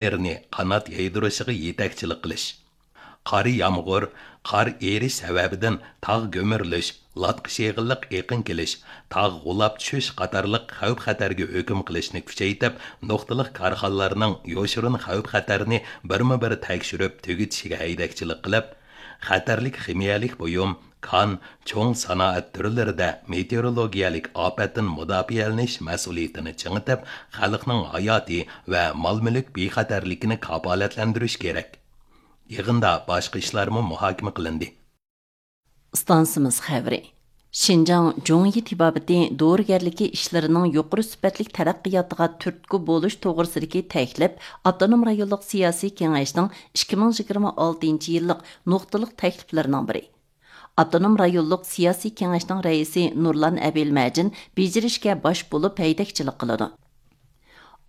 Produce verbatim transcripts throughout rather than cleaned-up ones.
يېرىنى قانات يايدۇرۇشىغا يېتەكچىلىك قىلىش. قار يامغۇر، قار ئېرىش سەۋەبىدىن تاغ گۈمۈرۈلۈش، لاتقا شېغىللىق ئېقىن كېلىش، تاغ غۇلاپ چۈشۈش قاتارلىق خەۋپ-خەتەرگە ھۆكۈم قىلىشنى كۈچەيتىپ، نۇقتىلىق كارخانىلارنىڭ يوشۇرۇن خەۋپ-خەتەرنى بىرمۇ بىر تەكشۈرۈپ تۈگىتىشىگە ھەيدەكچىلىك قىلىپ، خەتەرلىك خىمىيەلىك بۇيۇم، كان، چوڭ سانائەت تۈرلىرىدە مېتېئورولوگىيەلىك ئاپەتتىن مۇداپىئەلىنىش مەسئۇلىيىتىنى چىڭىتىپ، خەلقنىڭ ھاياتى ۋە مال-مۈلۈك بىخەتەرلىكىنى كاپالەتلەندۈرۈش كېرەك. يىغىندا باشقا ئىشلارمۇ مۇھاكىمە قىلىندى. ئىستانسىمىز خەۋىرى. شىنجاڭ جۇڭيى تېبابىتى دورىگەرلىكى ئىشلىرىنىڭ يۇقىرى سۈپەتلىك تەرەققىياتىغا تۈرتكە بولۇش توغرىسىدىكى تەكلىپ ئاپتونوم رايونلۇق سىياسىي كېڭەشنىڭ ئىككى مىڭ يىگىرمە ئالتىنچى يىللىق نۇقتىلىق تەكلىپلىرىنىڭ بىرى. ئاپتونوم رايونلۇق سىياسىي كېڭەشنىڭ رەئىسى نۇرلان ئەبىلمەجىن بېجىرىشكە باش بولۇپ ھەيدەكچىلىك قىلىدۇ.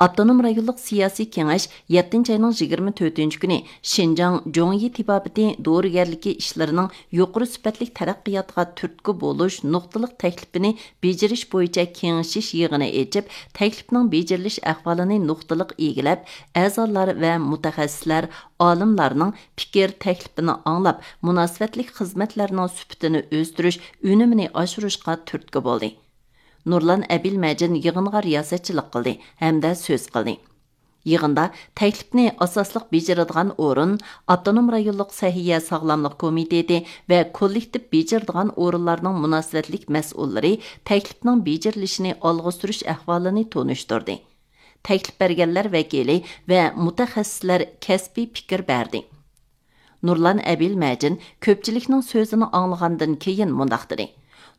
ئاپتونوم رايونلۇق سىياسىي كېڭەش يەتتىنچى ئاينىڭ يىگىرمە تۆتىنچى كۈنى شىنجاڭ جۇڭيى تېبابىتى دورىگەرلىكى ئىشلىرىنىڭ يۇقىرى سۈپەتلىك تەرەققىياتىغا تۈرتكە بولۇش نۇقتىلىق تەكلىپىنى بېجىرىش بويىچە كېڭىشىش يىغىنى ئېچىپ، تەكلىپنىڭ بېجىرىلىش ئەھۋالىنى نۇقتىلىق ئىگىلەپ، ئەزالار ۋە مۇتەخەسسىسلەر، ئالىملارنىڭ پىكىر، تەكلىپىنى ئاڭلاپ، مۇناسىۋەتلىك خىزمەتلەرنىڭ سۈپىتىنى ئۆستۈرۈش، ئۈنۈمىنى ئاشۇرۇشقا تۈرتكە بولدى. نۇرلان ئەبىلمەجىن يىغىنغا رىياسەتچىلىك قىلدى ھەمدە سۆز قىلدى. يىغىندا تەكلىپنى ئاساسلىق بېجىرىدىغان ئورۇن، ئاپتونوم رايونلۇق سەھىيە ساغلاملىق كومىتېتى ۋە كوللېكتىپ بېجىرىدىغان ئورۇنلارنىڭ مۇناسىۋەتلىك مەسئۇللىرى تەكلىپنىڭ بېجىرىلىشىنى ئالغا سۈرۈش ئەھۋالىنى تونۇشتۇردى. تەكلىپ بەرگەنلەر ۋەكىلى ۋە مۇتەخەسسىسلەر كەسپىي پىكىر بەردى. نۇرلان ئەبىلمەجىن كۆپچىلىكنىڭ سۆزىنى ئاڭلىغاندىن كېيىن مۇنداق دېدى: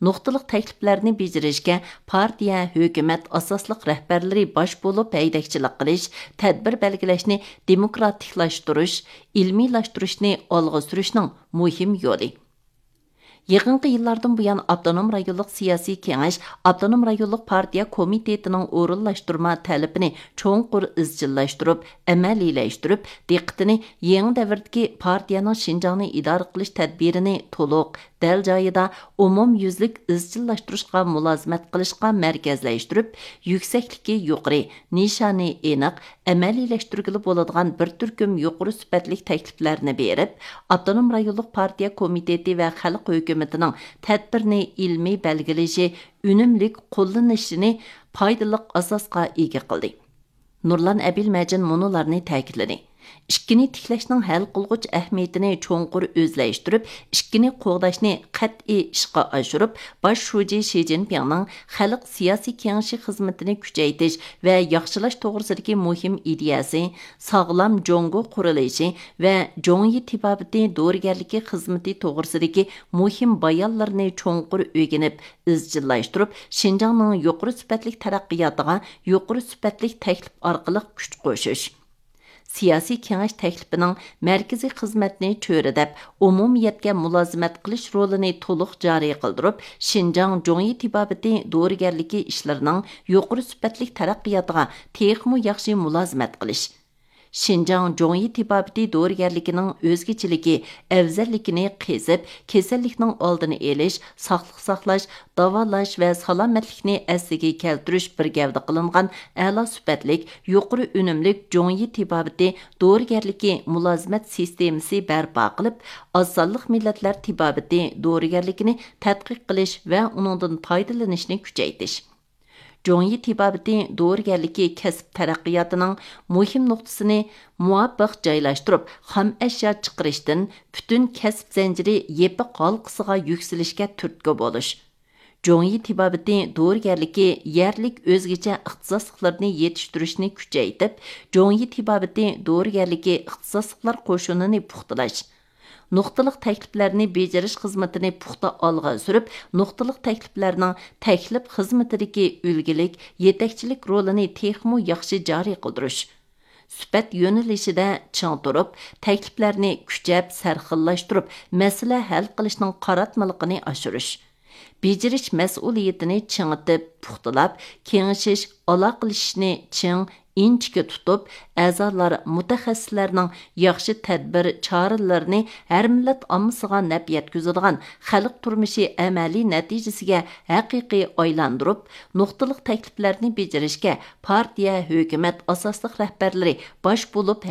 نۇقتىلىق تەكلىپلەرنى بېجىرىشكە پارتىيە، ھۆكۈمەت، ئاساسلىق رەھبەرلىرى باش بولۇپ ھەيدەكچىلىك قىلىش، تەدبىر بەلگىلەشنى دېموكراتىكلاشتۇرۇش، ئىلمىيلاشتۇرۇشنى ئالغا سۈرۈشنىڭ مۇھىم يولى. يېقىنقى يىللاردىن بۇيان، ئاپتونوم رايونلۇق سىياسىي كېڭەش ئاپتونوم رايونلۇق پارتىيە كومىتېتىنىڭ ئورۇنلاشتۇرما تەلىپىنى چوڭقۇر ئىزچىللاشتۇرۇپ، ئەمەلىيلەشتۈرۈپ، دىققىتىنى يېڭى دەۋردىكى پارتىيەنىڭ شىنجاڭنى ئىدارە قىلىش تەدبىرىنى تولۇق، دەل جايىدا، ئومۇميۈزلۈك ئىزچىللاشتۇرۇشقا مۇلازىمەت قىلىشقا مەركەزلەشتۈرۈپ، يۈكسەكلىكى يۇقىرى، نىشانى ئېنىق، ئەمەلىيلەشتۈرگىلى بولىدىغان بىر تۈركۈم يۇقىرى سۈپەتلىك تەكلىپلەرنى بېرىپ، ئاپتونوم رايونلۇق پارتىيە كومىتېتى ۋە خەلق ھۆكۈمىتىنىڭ تەدبىرنى ئىلمىي بەلگىلىشى، ئۈنۈملۈك قوللىنىشىنى پايدىلىق ئاساسقا ئىگە قىلدى. نۇرلان ئەبىلمەجىن مۇنۇلارنى تەكىتلىدى: ئىككىنى تىكلەشنىڭ ھەل قىلغۇچ ئەھمىيىتىنى چوڭقۇر ئۆزلەشتۈرۈپ، ئىككىنى قوغداشنى قەتئىي ئىشقا ئاشۇرۇپ، باش شۇجى شى جىنپىڭنىڭ خەلق سىياسىي كېڭىشى خىزمىتىنى كۈچەيتىش ۋە ياخشىلاش توغرىسىدىكى مۇھىم ئىدىيەسى، ساغلام جۇڭگو قۇرۇلۇشى ۋە جۇڭيى تېبابىتى دورىگەرلىكى خىزمىتى توغرىسىدىكى مۇھىم بايانلىرىنى چوڭقۇر ئۆگىنىپ، ئىزچىللاشتۇرۇپ، شىنجاڭنىڭ يۇقىرى سۈپەتلىك تەرەققىياتىغا يۇقىرى سۈپەتلىك تەكلىپ ئارقىلىق كۈچ قوشۇش. سىياسىي كېڭەش تەكلىپىنىڭ مەركىزىي خىزمەتنى چۆرىدەپ، ئومۇمىيەتكە مۇلازىمەت قىلىش رولىنى تولۇق جارى قىلدۇرۇپ، شىنجاڭ جۇڭيى تېبابىتى دورىگەرلىكى ئىشلىرىنىڭ يۇقىرى سۈپەتلىك تەرەققىياتىغا تېخىمۇ ياخشى مۇلازىمەت قىلىش. شىنجاڭ جۇڭيى تېبابىتى دورىگەرلىكىنىڭ ئۆزگىچىلىكى، ئەۋزەللىكىنى قېزىپ، كېسەللىكنىڭ ئالدىنى ئېلىش، ساقلىق ساقلاش، داۋالاش ۋە سالامەتلىكنى ئەسلىگە كەلتۈرۈش بىر گەۋدە قىلىنغان ئەلا سۈپەتلىك، يۇقىرى ئۈنۈملۈك جۇڭيى تېبابىتى دورىگەرلىكى مۇلازىمەت سىستېمىسى بەرپا قىلىپ، ئاز سانلىق مىللەتلەر تېبابىتى دورىگەرلىكىنى تەتقىق قىلىش ۋە ئۇنىڭدىن پايدىلىنىشنى كۈچەيتىش. جۇڭيى تېبابىتى دورىگەرلىكى كەسىپ تەرەققىياتىنىڭ مۇھىم نۇقتىسىنى مۇۋاپىق جايلاشتۇرۇپ، خام ئەشيا چىقىرىشتىن پۈتۈن كەسىپ زەنجىرى يېپىق ھالقىسىغا يۈكسىلىشكە تۈرتكە بولۇش. جۇڭيى تېبابىتى دورىگەرلىكى يەرلىك ئۆزگىچە ئىختىساسلىقلىرىنى يېتىشتۈرۈشنى كۈچەيتىپ، جۇڭيى تېبابىتى دورىگەرلىكى ئىختىساسلىقلار قوشۇنىنى پۇختىلاش. نۇقتىلىق تەكلىپلەرنى بېجىرىش خىزمىتىنى پۇختا ئالغا سۈرۈپ، نۇقتىلىق تەكلىپلەرنىڭ تەكلىپ خىزمىتىدىكى ئۈلگىلىك، يېتەكچىلىك رولىنى تېخىمۇ ياخشى جارى قىلدۇرۇش. سۈپەت يۆنىلىشىدە چىڭ تۇرۇپ، تەكلىپلەرنى كۈچەپ سەرخىللاشتۇرۇپ، مەسىلە ھەل قىلىشنىڭ قاراتمىلىقىنى ئاشۇرۇش. بېجىرىش مەسئۇلىيىتىنى چىڭىتىپ، پۇختىلاپ، كېڭىشىش، ئالاقىلىشىشنى چىڭ، ئىنچىكە تۇتۇپ، ئەزالار مۇتەخەسسىسلەرنىڭ ياخشى تەدبىر، چارىلىرىنى ھەر مىللەت ئاممىسىغا نەپ يەتكۈزىدىغان، خەلق تۇرمۇشى ئەمەلىي نەتىجىسىگە ھەقىقىي ئايلاندۇرۇپ، نۇقتىلىق تەكلىپلەرنى بېجىرىشكە پارتىيە، ھۆكۈمەت ئاساسلىق رەھبەرلىرى باش بولۇپ